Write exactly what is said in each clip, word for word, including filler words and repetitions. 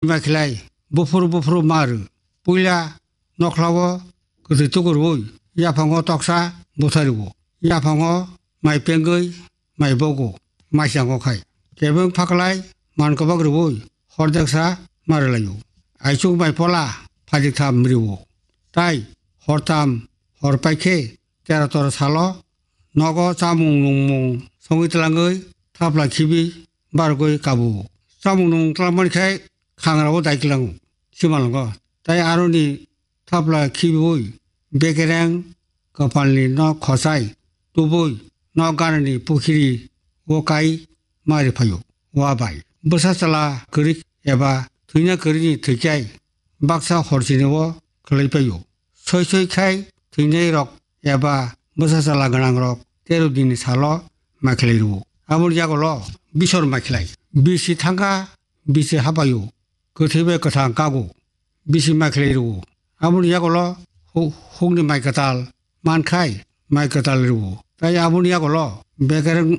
Maikhlai buphuru buphuru ma rw. Puila nokhlao kwthwi tukurwi yaphango toksa butharwo. Yaphango mai pengwi mai bogo maisango khai. Kebeng phaklai man kwbak rwi hordeksa ma rwlaio. Aichuk mai pola phajiktham rwo. Tai hortham hor paikhe tero toro salo nogo chamung nungmung songwi tlangwi thapla khibi bargwi kabo. Chamung nung tlangmani khai khangrao dai klango simalwngo. Tai aroni thapla khibiwi bekereng kwpalni nok khosai tubui nok ganani pukhiri o kai mari phaio. Wa bai bwsa chwla kwrwi eba thwina kwrwini thwikhai baksa horchini o khwlai paio. Soi soi khai thwinai rok eba bwsa chwla gwnang rok tero dini salo maikhlai rwo. Aboni yagulo bisor maikhlai bisi thangkha bisi habaio kwthwi bai kwthang kago bisi maikhlai rwo. Aboni yagulo hu-, hukni mai kwtal mankhai mai kwtal rwo. Tai aboni yagulo bekereng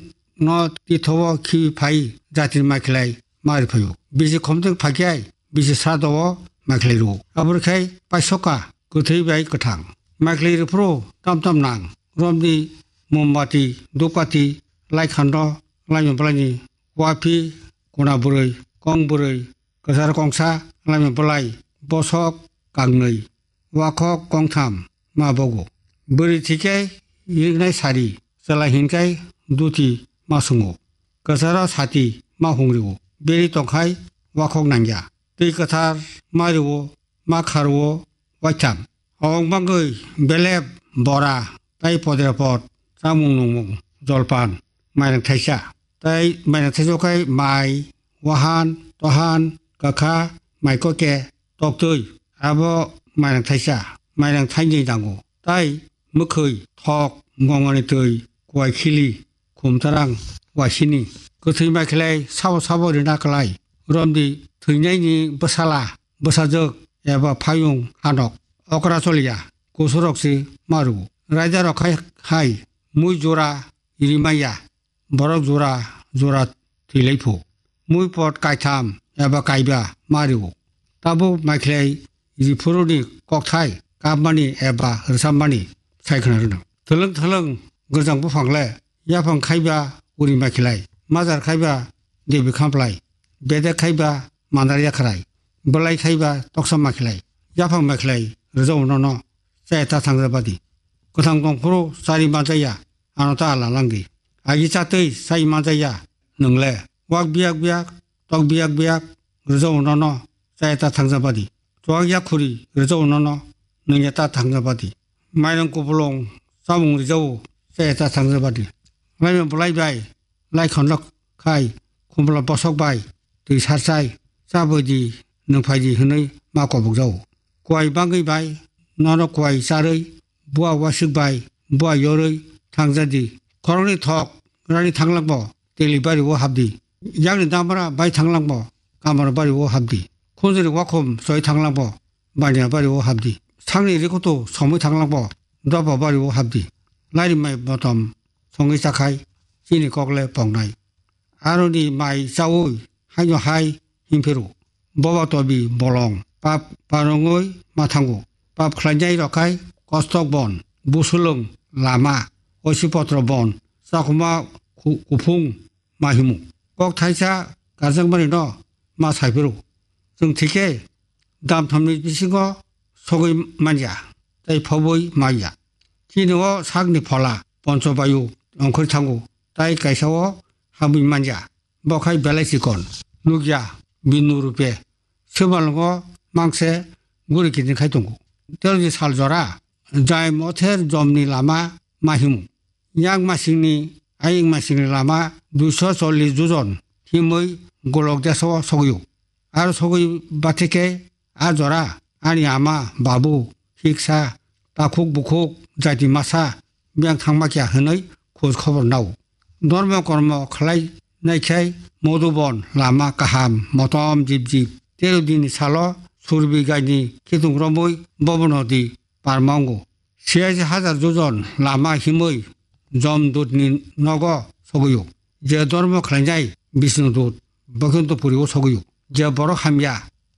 no tithao khi phai jatini maikhlai mari phaio. Bisi khomteng phaikhai bisi sado o maikhlai rwo. Aboni khai paisoka kwthwi bai kwthang. Maikhlai rwphuru tam tam nang romni mombati dupkati laikhando laima bwlaini wapi kuna bwrwi kong bwrwi kwchar kongsa laima bwlai bosok kangnwi wakhok kongtham ma bogo. Bwrwi thikhe riknai sari chwla hinkhai duti ma sungo. Kwcharo sati ma hungrio beri tongkhai wakhok nangya. Twi kwthar ma rwo ma kharwo waitham. Hong bangwi belep bora tai podrepot chamung nungmung jolpan mairang thaisa. Tai mairang thaisa khai mai wahan tohan kakha mai koke toktwi abo mairang thaisa mairang thainwi dango. Tai mwkhwi thok gongoni twi kuai khili khumtarang waisini. Kwthwi maikhlai sabo sabo rina klai romdi thwinaini bwsala bwsajwk eba phayung hanok okra choliya kusurok se maru. Raida rok khai hai mui jora rimaya borok jora jora thwilaiphu. Mui pot kaitham eba kaiba mario. Tabuk maikhlai riphuruni kokthai kapmani eba rwchapmani sai khna rwno. Thwlwng thwlwng gwjang buphangle yaphang khaiba uri maikhlai. Majar khaiba debi khamplai. Bedek khaiba mandar yakhrai. Bwlai khaiba toksa maikhlai. Yaphang maikhlai rwjao nono chaya ta thangjabadi. Kwthang tongphuru chari manjaya ano ta ala langdi. Agi chatwi chai manjaya nwngle. Wak biyak biyak tok biyak biyak rwjao nono chaya ta thangjabadi. Chuwak yakhuri rwjao nono nungya ta thangjabadi. Mairang kupulung chamung rwjao chaya ta thangjabadi. Laima bwlai bai lai khonlok khai khumbla bosok bai twi sarchai chabwidi nungphaidi hwnwi ma kobokjao. Kuai bangwi bai nono kuai charwi bua waswk bai bua yorwi thangjadi. Khoroknwi thok rani thanglakbo teli bari o habdi. Yakni damra bai thanglakbo kamra bari o habdi. Khunjwni wakhum choi thanglakbo baniya bari o habdi. Sakni rikutu somwi thanglakbo dobo bari o habdi. Lairi mai botom songwi chakhai chini kokle pongnai. Aroni mai chaui haino hai himphiru. Boba tobi bolong pap parongoi mathango. Pap khlainai rokhai kostok bon, busulung lama, oisipotro bon, chakhuma khu-, kuphung mahimu. Kok thaisa karjakmani no ma saiphuru. Chwng thikhe dam thamni bisingo sogwi manya tei phobwi manya. Chini o sakni phola poncho bayu ongkhor thango tai kaisa o hamwi manya. Bo khai belai chikon nukya binu rupe. Swbalngo mangse guri kiting khai tongo. Teroni sal jora jai mother jomni lama mahimu. Yang masingni aying masingni lama duiso chollis jojon himwi golok desao sogwio. Aro sogwi bathikhe a jora ani ama, babu, hiksa, takhuk bukhuk, jati masa biyang thangma kya hwnwi khoj khobor nao. Dormo kormo khlai naikhai Modubon lama kaham motom jib jib. Tero dini salo Surbi gaini khitung romwi bobono di parma wngo. Siyaisi hajar jojon lama himwi Jomdutni nogo sogwio. Je dormo khlainai Bisnudut Boikunthopuri o sogwio. Je borok hamya